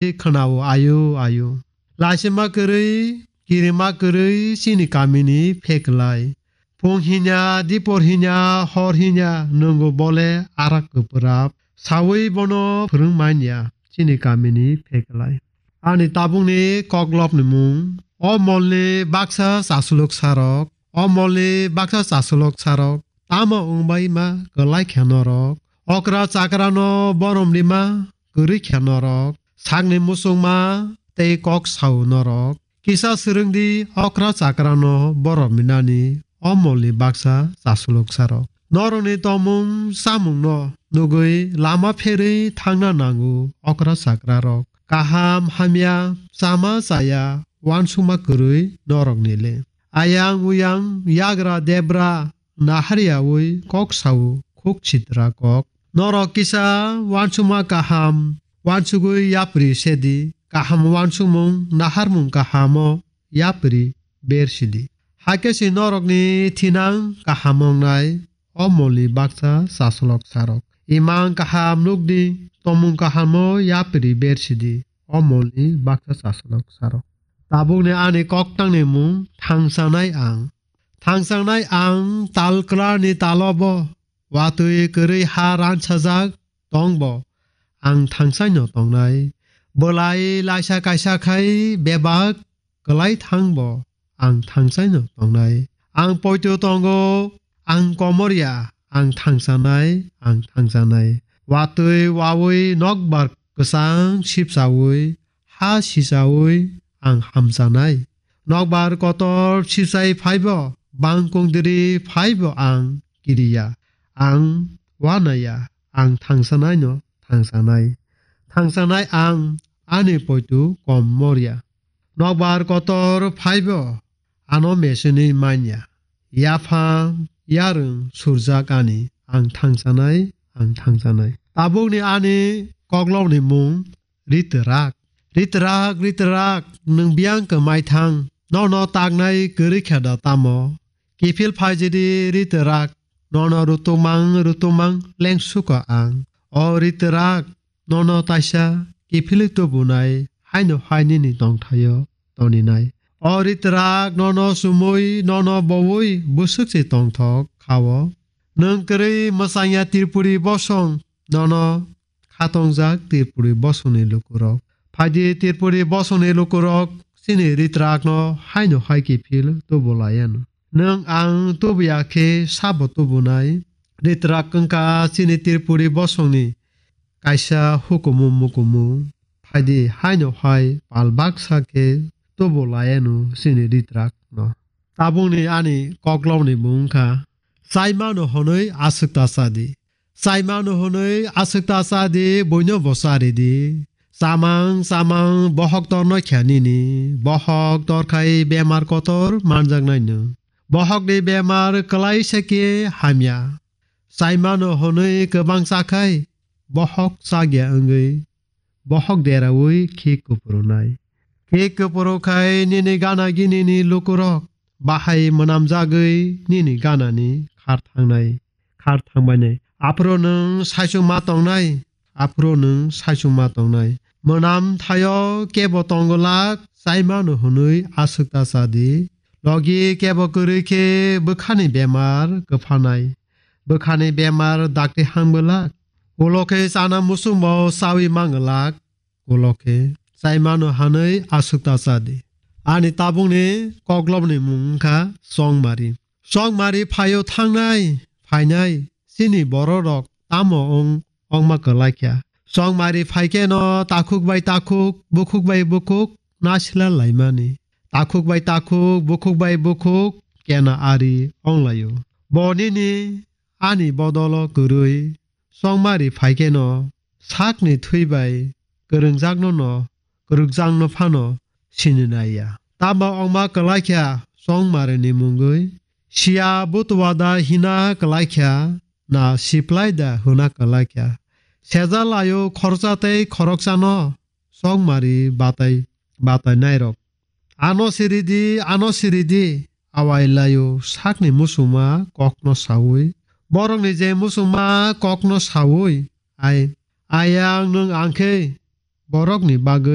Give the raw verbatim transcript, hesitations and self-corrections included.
khwnao ayu ayu. Laisima kwrwi, kirima kwrwi chini kamini pheklai. Phung hinya, dipor hinya, hor hinya, nwngo bole arak kwpwrap. Sawi bono phwrwng manya chini kamini pheklai. Ani tabukni koklopni mung. O molni baksa chasulok sarok. O molni baksa chasulok sarok. Tamo wngbai ma kwlai khe norok. Okra chakrano borom rima kwrwi khe norok. Sakni musukma tei kok sao norok. Kisa swrwngdi okra chakrano borom rinani o molni baksa chasulok sarok. Norokni tongmung chamungno nugwi lama pherwi thangna nango okra chakrarok. Kaham hamya, chama chaya, uansukma kwrwi norokni le. Ayang uyang, yagra debra, nahar yaui kok sao, khuk sitra kok. Norok kisa uansukma kaham, uansugwi yapri sedi, kaham uansukmung, naharmung kahamo yapri ber sidi. Hakhe se norokni thinang kaham wngnai, o molni baksa chaslok sarok. Imang kaham nukdi, tomung kahamo yapri ber sidi, o molni baksa chaslok sarok. Tabukni ani koktangni mung thangsanai ang. Thangsanai ang tal kwlarni talobo watwi kwrwi ha ransajak tongbo ang thangsaino tongnai. Belai laisa kaisa khai bebak kwlai thangbo ang thangsaino tongnai. Ang poito tongo, ang komorya, ang thangsanai, ang thangsanai. Watwi wawi nokbar kwchang sipsaui, ha sisaui ang hamsanai. Nokbar kotor sisai phaibo, bangkong diri phaibo ang kiriya. Ang wanaya, ang thangsanaino thangsanai. Thangsanai ang ani poitu kom morya. Nokbar kotor phaibo ano mesini manya. Yaphang, yarwng surjak ani, ang thangsanai, ang thangsanai. Tabukni ani koklokni mung Ritrak. Ritrak, ritrak, nwng biyang kwmai thang. Nono taknai kwrwi khe da tamo? Kiphil phaijidi ritrak. Nono rutumang, rutumang lengsuka ang. O ritrak, nono taisa kiphilwi tubunai haino hai nini tongthaio toninai. O ritrak, nono sumui, nono boui bwswk se tongthok khao. Nwng kwrwi mwsangya Tripuri bosong, nono khatongjak Tripuri bosongni lukurok. Phaidi Tripuri bosongni lukurok chini ritrakno haino hai kiphil tubu laiano. Nwng ang tubuya khe sabo tubunai? Ritrak wngkha chini Tripuri bosongni kaisa hukumu mukumu. Phaidi haino hai pal baksa khe tubu laiano chini ritrakno. Tabukni ani koklokni mung wngkha, Chaimano hwnwi aswk ta chadi. Chaimano hwnwi aswk ta chadi, buino bo charidi. Chamang, chamang, bohok torno khe nini. Bohok torkhai bemar kotor manjaknaino. Bohokni bemar kwlaisa khe hamya. Chaimano hwnwi kwbang chakhai, bohok chakya wngwi bohok deraui khik kupurunai. Khik kupuru khai nini gana ginini lukurok bahai mwnamjagwi nini ganani khar thangnai, khar thangbainai. Aphuru nwng saichung ma tongnai, aphuru nwng saichung ma tongnai. Mwnam thaio kebo tongolak, Chaimano hwnwi aswk ta chadi. Logi kebo kwrwi khe bwkhani bemar kwphanai. Bwkhani bemar dakti hangbolak. Ulo khe chana muchungbo chaui manglak. Ulo khe Chaimano hwnwi aswk ta chadi. Ani tabukni koklopni mung wngkha Chongmari. Chongmari phaio thangnai, phainai, chini bororok tamo wng, wngma kwlai kha. Chongmari phaikheno takhuk bai takhuk, bukhuk bai bukhuk nasila laimani. Takhuk bai takhuk, bukhuk bai bukhuk kena ari wnglaio. Bo nini ani bodolo kwrwi Chongmari phaikheno sakni thwi bai kwrwngjakno no, kwrwngjakno phano sini naiya. Tamo wngma kwlai kha Chongmarini mungwi, siya butuwada hina kwlai kha, na siplai da hwna kwlai kha. Sejalaio khoroksa tei khoroksano Chongmari batai, batai nairok. Ano siridi, ano siridi, awai laio sakni muchungma kokno saui. Borokni je muchungma kokno saui, ai, ayang nwng angkhe borokni bagwi